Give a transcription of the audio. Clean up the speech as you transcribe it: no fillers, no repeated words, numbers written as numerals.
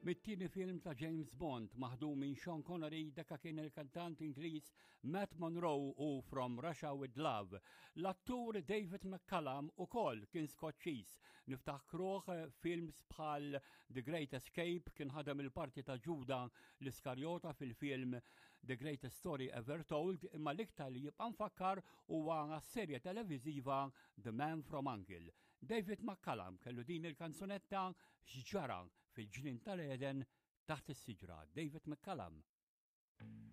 Mit-tieni film ta' James Bond maħdum minn Sean Connery dakka kien il-kantant Ingliż Matt Monroe u From Russia with Love. L-attur David McCallum ukoll kien Skoċċiż. Niftakruh films bħal The Great Escape kien ħadem il-parti ta' Ġuda l-Iskarjota fil-film The Greatest Story Ever Told imma l-iktar li jibqa' mfakkar huwa serje televiżiva The Man from Uncle. David McCallum kellu din il-kanzunetta x'ġara fil-ġnien tal-Eden taħt is-siġra. David McCallum.